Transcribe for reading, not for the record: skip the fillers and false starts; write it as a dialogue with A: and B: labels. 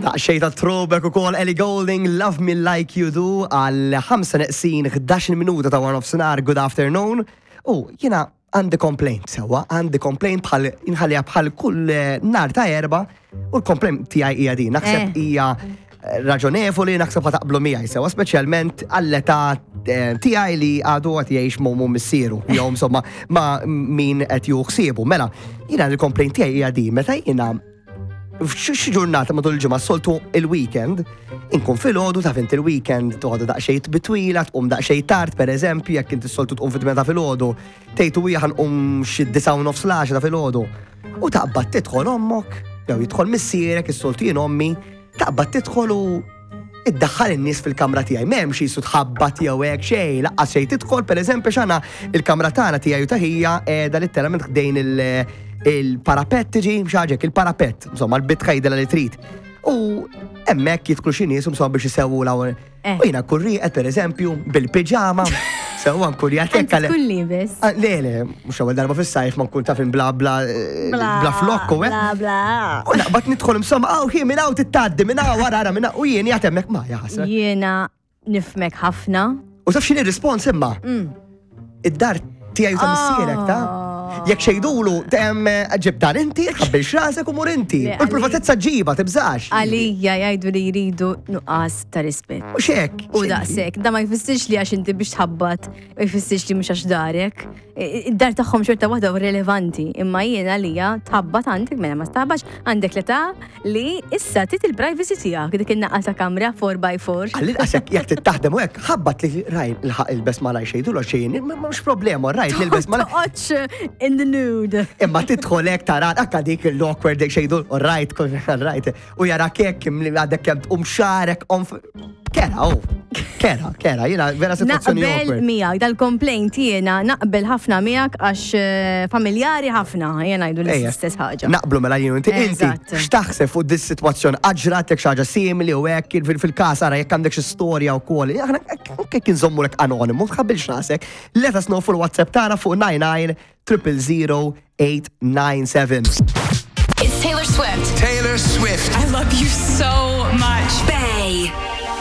A: Daqsxejn ta' throwback ukoll Ellie Goulding, Love Me Like You Do għal 5 neqsin 11 minuta ta' wara nofsinhar, good afternoon. U jiena għandi complaint sewwa, għandi complaint bħal inħalliha bħal kull eh, nar ta' erba u l-complaint tiegħi hija din. Naħseb eh. hija eh, raġonevoli, naħseb ħa taqblu miegħi sewwa, speċjalment għall-età tiegħi li għadu qed jgħix m'ommu missieru, jew insomma ma' min qed juħsiebu. Mela, jiena l-complaint tiegħi hija din, meta jiena F'xi ġurnata matul il-ġimgħa soltu il-weekend, inkun filgħodu taf inti il-weekend toħdu daqsxejn bitwila, tqum daqsxejn tard pereżempju, jekk inti soltu tqum fit ta' filgħodu, tgħid u hija ħanqum xi disa' u nofs l ta' filgħodu. U taqbad tidħol ommok, jew jidħol missierek, is-soltu jien ommi, taqbad tidħol u iddaħħal in-nies fil-kamra tiegħi. M'hemmx jisu tħabbat jew hekk xejn, laqqas xejn tidħol pereżempju x'għandna il-kamra tagħna tiegħi u ta' ħija qiegħda litteralment ħdejn il-parapett tiġi xi il-parapett, insomma l-bitħa jidilha li trid. U hemmhekk jidħlu xi nies insomma biex isewwu l Eh. U jiena nkun rieqed pereżempju bil-piġama, sewwa nkun jgħid hekk
B: għal. Tkun liebes.
A: Ah, le, le, mhux ewwel darba fis-sajf ma nkun taf bla bla eh, bla flokku,
B: eh. Bla bla.
A: U naqbad nidħol insomma, aw hi minn hawn tittgħaddi, minn hawn wara ara minn u jien jgħid hemmhekk ma jaħasra.
B: Jiena nifmek ħafna.
A: U taf x'inhi rispons imma? Mm. Id-dar tiegħi ta' missierek ta' ah. Jekk xejdulu, tem ġib dan inti, ħabbil xrasek u mur inti. U l-privatezza ġiba, tibżax.
B: Għalija jgħidu li jridu nuqqas ta' rispett.
A: U xek.
B: U daqsek, da ma jfissirx li għax inti biex tħabbat, ma jfissirx li mhux għax darek. Id-dar tagħhom xorta waħda u relevanti, imma jien għalija tħabbat għandek mela ma tħabbax għandek l-età li issa tit il-privacy tiegħek dik in-naqqa ta' kamra 4x4.
A: Għall-inqas jekk tittaħdem u hekk ħabbat li raj il-ħaq ilbes malaj xejdu l xejn, mhux problema, rajt li ilbes
B: malaj. Toqgħodx in the nude.
A: Imma tidħol hekk tara akka dik l-awkward dik xejdu, rajt, rajt, u jara kek għadek kemm tqum xarek Kera, oh. Kera, kera, jena vera situazzjoni
B: Naqbel miegħek, dal-complaint jiena naqbel ħafna miegħek għax eh, familjari ħafna, jiena jgħidu l-istess ħaġa.
A: Naqblu mela jien inti, inti x'taħseb fuq dis situazzjoni aġratek xi ħaġa simili u hekk fil-każ ara jekk għandek xi storja wkoll. Aħna hekk inżommulek anonimu, tħabbilx rasek. Let us know fuq il-WhatsApp tagħna fuq 99 000 897.
C: It's Taylor Swift.
D: Taylor Swift.
C: I love you so much. Bay.